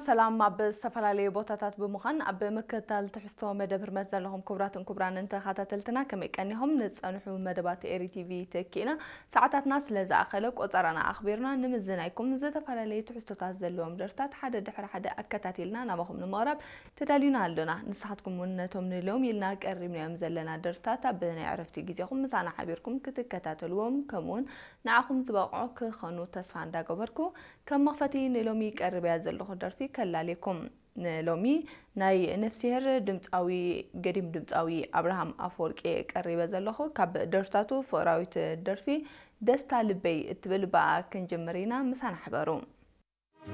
ሰላም። ኣብ ዝተፈላለዩ ቦታታት ብምዃን ኣብ ምክትታል ትሕዝቶ መደብ ህርመት ዘለኹም ክቡራትን ክቡራንን ተኸታተልትና ከመይ ቀኒኹም? ንጸንሑ መደባት ኤሪ ቲቪ ተኪእና ሰዓታትና ስለ ዝኣኸለ ቆጸራና ኣኽቢርና ንምዝናይኩም ዝተፈላለዩ ትሕዝቶታት ዘለዎም ደርፍታት ሓደ ድሕሪ ሓደ ኣከታቲልና ናባኹም ንምቕራብ ተዳሊና ኣሎና። ንስኻትኩም እውን ነቶም ንሎም ኢልና ቀሪብናዮም ዘለና ደርፍታት ኣብ ናይ ዕረፍቲ ግዜኹም ምሳና ሓቢርኩም ክትከታተልዎም ከምኡውን ንዓኹም ዝበቕዑ ክኾኑ ተስፋ እንዳገበርኩ ከም መኽፈቲ ንሎሚ ቀሪበያ ዘለኹ ደርፊ ከላልየኩም። ንሎሚ ናይ ነፍስሄር ድምፃዊ ገዲም ድምፃዊ ኣብርሃም ኣፈወርቂ ቀሪበ ዘለኹ። ካብ ደርፍታቱ ፍቕራዊት ደርፊ ደስታ ልበይ እትብል ብኣ ክንጅምር ኢና። ምሳና ሕበሩ።